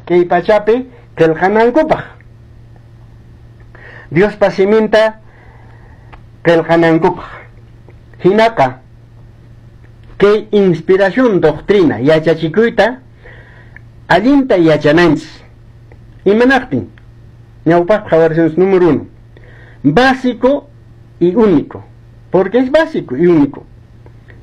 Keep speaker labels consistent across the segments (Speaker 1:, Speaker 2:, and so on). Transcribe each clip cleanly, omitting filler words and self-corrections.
Speaker 1: Kay pachapi qillqanankupaq. Diospa siminta qillqanankupaq. Hinaqa kay inspiración doctrina yachachikuyta allinta yachananchis. Imanaqtin? Ñawpaq qhawarishunchis número 1. Básico y único. Porque es básico y único.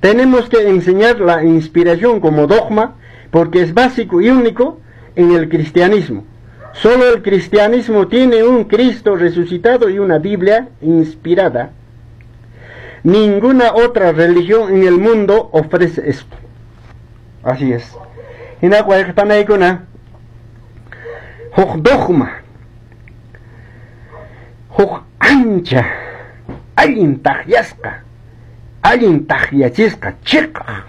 Speaker 1: Tenemos que enseñar la inspiración como dogma porque es básico y único en el cristianismo. Solo el cristianismo tiene un Cristo resucitado y una Biblia inspirada. Ninguna otra religión en el mundo ofrece esto. Así es. Hina wayqipanaykuna huk dogma, huk ancha allin takyasqa, allin takyachisqa chiqaq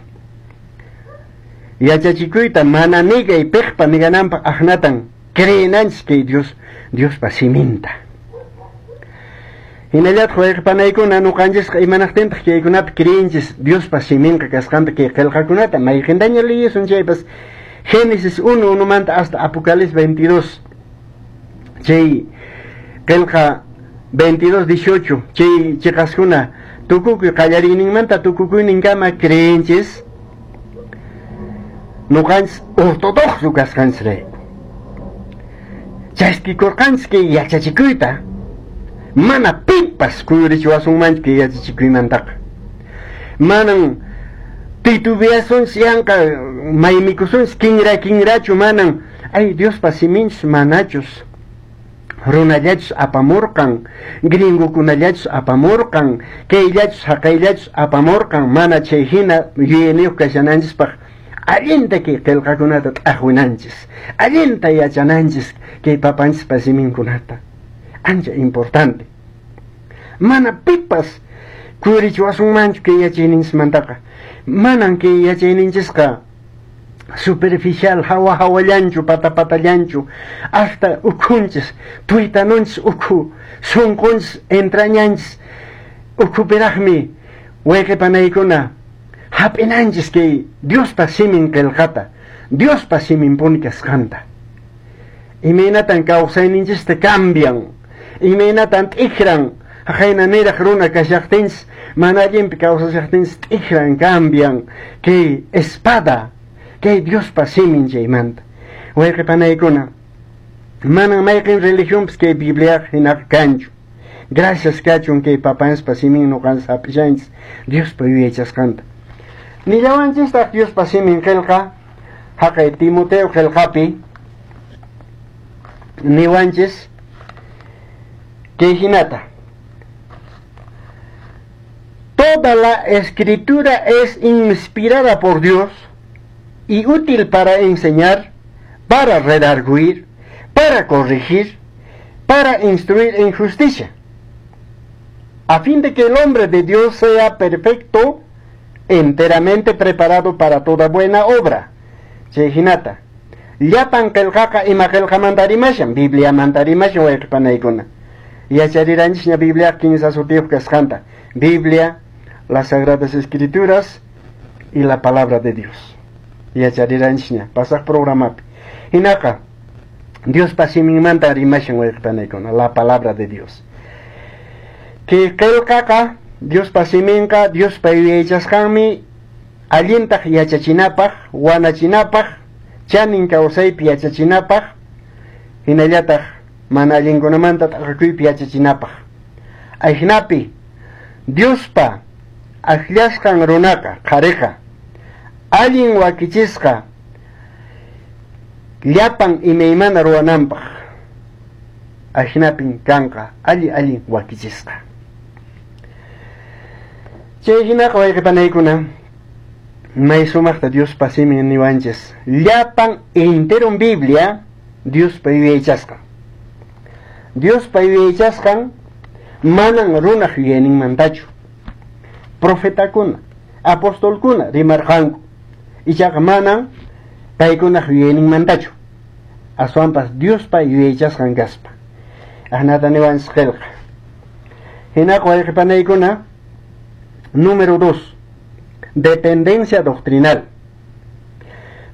Speaker 1: yachachikuyta mana nigay piqpa nigananpaq aqnatan creenanchis kay Dios Diospa siminta. Hinallataq wayqipanaykuna ñuqanchisqa imanaqtintaq kaykunapi creenchis Diospa siminqa kasqanta kay qillqakunata mayqintaña liyisun chaypas Génesis 1 1manta hasta Apocalipsis 22 chay qillqa 22 18 chay chiqaskuna tukukuy qallariyninmanta tukukuyninkama creenchis ñuqanchis ortodoxo kasqanchisrayku. Chaskikurqanchis kay yachachikuyta mana pipas kuyurichiwasunmanchu kay yachachikuymantaqa. Manan titubeasunchis yanqa maymikusunchis kinra kinrachu manan ay Diospa siminchus manachus runallachus apamurqan gringokunallachus apamurqan kayllachus haqayllachus apamurqan mana chay hina yuyayniyuq kashananchispaq allinta kay qillqakunata t'aqwinanchis allinta yachananchis kay papanchispa siminkunata. Ancha importante. Mana pipas kuyurichiwasunmanchu kay yachayninchismantaqa. Manan kay yachayninchisqa superficial hawa hawallanchu pata patallanchu hasta ukhunchis tuytanunchis ukhu sunqunchis entrañanchis ukhupiraqmi wayqipanaykuna hap'inanchis kay Diospa simin qillqata Diospa siminpuni kasqanta. Imaynatan kawsayninchista cambian, imaynatan t'ikran haqayna niraq runa kashaqtinchis mana allinpi kawsashaqtinchis t'ikran cambian kay espada kay Diospa simin chaymanta. Wayqipanaykuna manan mayqin religionpis kay Bibliaqa hinaqa kanchu. Gracias kachun kay papanchispa simin ñuqanchis hap'ishanchis Diospa yuyaychasqanta. Nillawanchistaq Diospa simin qillqa haqay Timoteo qillqapi niwanchis kay hinata: Toda la escritura es inspirada por Dios y útil para enseñar, para redarguir, para corregir, para instruir en justicia, a fin de que el hombre de Dios sea perfecto, enteramente preparado para toda buena obra. Chay hinata. Llapan qillqaqa ima qillqamanta rimashan, Bibliamanta rimashan wayqipanaykuna. Yachariranchis Biblia kinsa sutiyuq kasqanta. Biblia, las Sagradas Escrituras y la Palabra de Dios. Yachariranchis pasaq programapi. Hinaqa Diospa siminmanta rimashan wayqipanaykuna, la Palabra de Dios. Kay qillqaqa Diospa siminqa Diospa yuyaychasqanmi allintaq yachachinapaq, wanachinapaq, chanin kawsaypi yachachinapaq, hinallataq mana allinkunamanta t'aqakuypi yachachinapaq. Ajinapi Diospa akllasqan runaqa, qhariqa, allin wakichisqa llapan imaymana ruwananpaq. Ajinapin kanqa alli allin wakichisqa. Chay hinaqa wayqipanaykuna may sumaqta Diospa simin niwanchis llapan enteron Biblia Diospa yuyaychasqan. Diospa yuyaychasqan manan runaq yuyayninmantachu. Profetakuna, apostolkuna rimarqanku. Ichaqa manan paykunaq yuyayninmantachu. Aswanpas Diospa yuyaychasqan kaspa. Ahnata niwanchis qillqa. Hinaqa wayqipanaykuna número 2, dependencia doctrinal.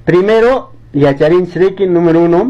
Speaker 1: Primero, yacharinchis riki número 1,